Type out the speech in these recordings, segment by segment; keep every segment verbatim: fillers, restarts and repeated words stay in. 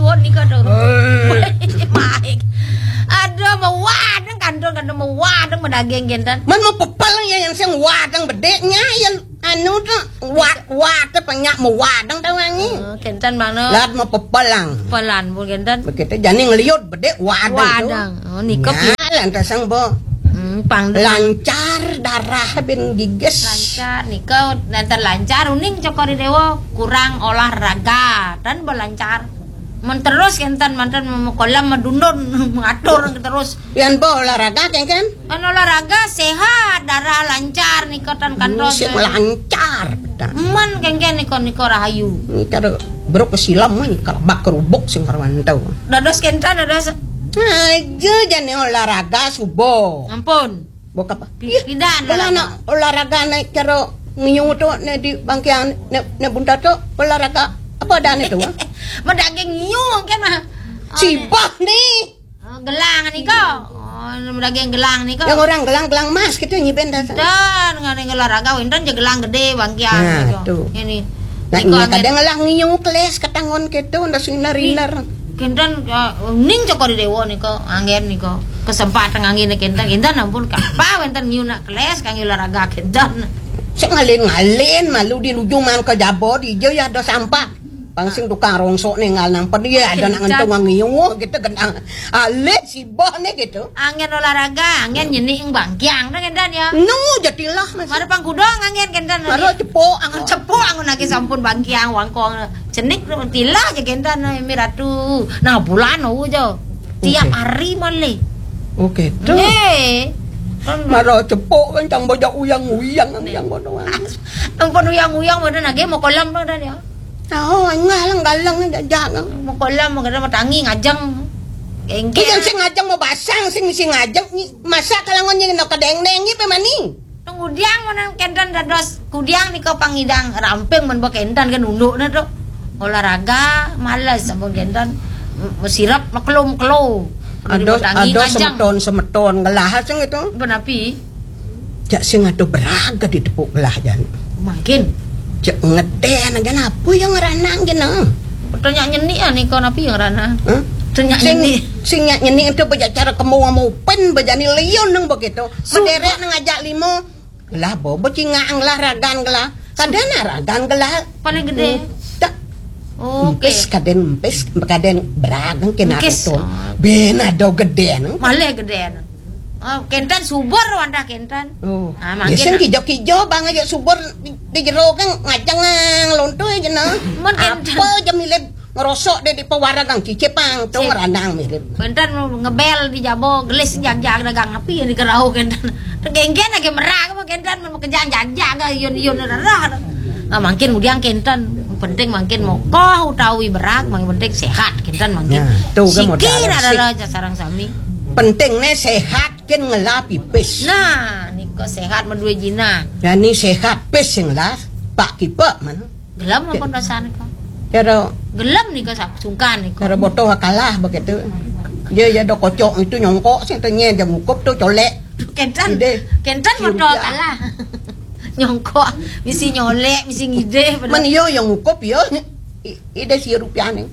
Wah, nika tuh. Maik. Aduh, mawadeng kantun, kantun mawadeng madaging kenten. Man mapepel ya yang sing wadeng bedeknya ya anu tuh wat wat penyak mawadeng tawangi. Oh, kenten mana? Lat mapepelang. Pelan pun kenten. Begitu jani ngeliut bedek wadeng tuh. Wadeng. Oh, nika pi- Nah, lantas sang bo. Hmm, pang lancar darah bin giges. Lancar nika lantar lancar uning Cokor Dewa kurang olahraga dan belancar. Men terus kenten mantan mau kolam madundun mengatur terus. Pian bo olahraga kengken? Kan olahraga sehat, darah lancar nika tan kantos. Sing lancar. Man kengken nika nika rahayu. Ini cara brok kesilam man kalau bak kerubuk sing karuan tau. Dados kenten dados. Aja jane olahraga subuh. Ampun. Bok apa? Pi- Ih, pidan bola olahraga. Nak olahraga naik cara ngiu tu ne di bangkian ne, ne bunta tu olahraga apa dah ne tu? Ah? Madaging ngiu kan mah. Oh, sibah ni. Oh, gelang ni ko. Oh, madaging gelang ni ko. Yang orang gelang-gelang mas kita nyiben dah. Dan ngene olahraga wenten je gelang gede bangkian. Nah, tu. Ini. Nah, ini kadang lah ngiu keles katangon kita ndak sinar-inar. Kenten uh, ning Cokor Dewa nika anggen nika kesempatan anggen kenten kenten ampun kapa wenten ngiu nak keles kangge olahraga kenten. Sing ngalin-ngalin malu di luju man ke jabo di ijo ya ada sampah. Pang sing tukang rongsok ningal nang pedi ya ada nak ngentung ngiu gitu gendang. Alih sibah nih gitu. Anggen olahraga, anggen nyenik bangkiang dah kenten ya. Nu jatilah masih. Mara pang kudong anggen kenten. Mara cepok anggen cepok anggen lagi sampun bangkiang wangkong. Cenik tilah je gendan eh, mi ratu. Nah, bulan oh jo. Tiap hari malih. Oke, tu. Eh. Mara cepok kan tang bajak uyang-uyang yang kono. Ampun uyang-uyang mana nage mau kolam tu dah dia. Oh, enggak lang galang jajak. Mau kolam mau kena tangi ngajeng. Engke. Sing ngajeng mau basang sing sing ngajeng ni masa kalangon yang nak kadeng-deng ni pe mani. Nang kudiang menang kenten dados kudiang nika pangidang ramping men ba kenten kan undukne tu. Olahraga males ampun kenten. M- Sirep meklum kelo. Ada ada semeton semeton gelah sing itu. Benapi? Jak sing ada beraga di tepuk gelah jan. Mungkin. Jak ngeden aja apa yang ngeranang kena. Tanya nyeni ah nika napi yang rana. Huh? Tanya nyeni. Sing nyak nyeni itu bejak cara kemu sama upen bejani liun nang begitu. Mederek nang ajak limo. Lah bobo cinga anglah ragan gelah. Kadana ragan gelah. Paling gede. Tak. Oke. Empis kaden empis kaden beragang kena Empis. Tuh. Oh. Ben ada gede nang. Malah gede. Oh, kenten subur wantah kenten. Oh. Ah, ya mangkin sing ah. Kijo-kijo bang aja subur di, di jero kan ngajang lontu aja nah. Mon kenten. Apa aja milih ngerosok deh di pewarang cicipang tuh ngeranang mirip. Kenten ngebel di jabo gelis jagjag dagang api yang dikerau kenten. Genggen lagi merah apa kenten mau kejang jagjag yun yun rarah. Ah, mungkin udah kenten penting mungkin mokoh utawi berak mungkin penting sehat kenten mungkin. Nah, tuh kan modal sikir sih. Ada sarang sami. Penting nih sehat kin ngelah pipis. Nah, niko sehat madue jina. Ya ni sehat pis sing lah. Pak kipe mana? Gelem apa rasane kok? Karo gelem niko sap- sungkan niko. Karo botoh kalah begitu. Dia ya ada kocok itu nyongkok sing tanya dia ngukup tuh colek. Kenten. Ide. Kenten botoh kalah. Nyongkok, misi nyolek, misi ngide. Man yo yang ngukup yo. I- Ide si rupiah nih.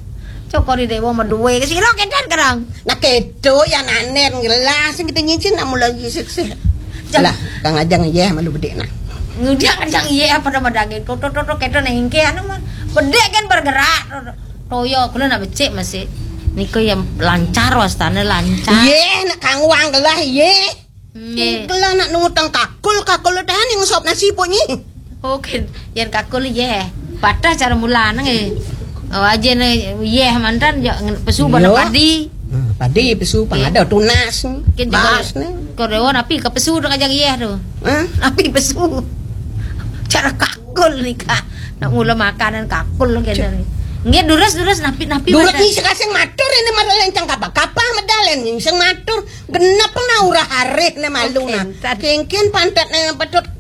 Cokor di dewa madue ke sira kenten kerang. Nah keto ya nanen gelas sing kita nyicin nak mulai sik sih. Lah kang ajang ya malu bedek nah. Ngudiang ajang iya apa nama daging. Toto toto keto nengke anu mah. Bedek kan bergerak. Toyo kula nak becik masih. Niko yang lancar wastane lancar. Ye nak kang wang gelah ye. Nggih. Kula nak nungutang kakul, kakul tahan yang sop nasi punyi. Oh, ken, yen kakul ye. Patah cara mulane nggih. Oh, aja ne ye mantan yo ngen- pesu pada padi. Hmm, padi pesu pang ada tunas. Ken juga Bas ne. Korewa napi ke pesu dong aja ye tu. Hah? Napi pesu. Cara kakul nika. Nak mula makanan kakul kene. Nggih durus durus napi napi. Durus ni sekasing matur ini malah lencang kapal-kapal medal ini sing matur. Genep na urah arih ne malu na. Kengken pantat ne patut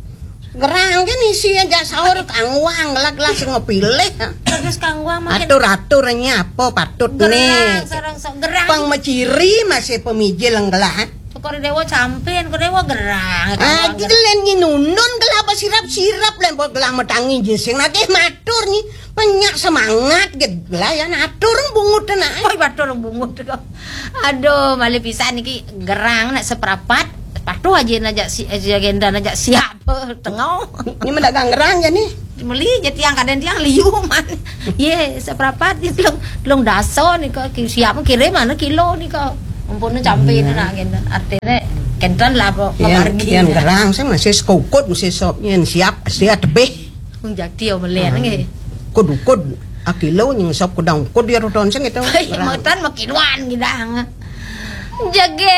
gerang kan isi aja sahur kangwang lah gelas ngepilih. Terus kangwang makin atur aturnya apa patut ne. Gerang sarang sa- gerang. Pang meciri masih pemijil gelah. Kor dewa campin, kor dewa gerang. Ah, gitu len nginundun kelapa sirap-sirap len buat gelang metangi jinsing lagi matur ni. Penyak semangat gitu lah ya, atur bungut nak. Oi, batur bungut kok. Aduh, malih pisan iki gerang nak seprapat. Patuh aja najak si, aja agenda najak siap. Tengok. Ini mendagang gerang ya nih. Meli je tiang kadang tiang liu man. Ye, seprapat di telung, telung dasa nih kok. Siap kirim mana kilo nih kok. Ampun campin nak agenda. Artinya kenten lah kok. Yang, yang gerang saya masih sekukut, masih sop, yang siap, siap tebih. Wong jati ya melian nggih. Kud-kud akilo nying sop kudang kud ya ruton sing itu. Metan makiluan gidang. Jage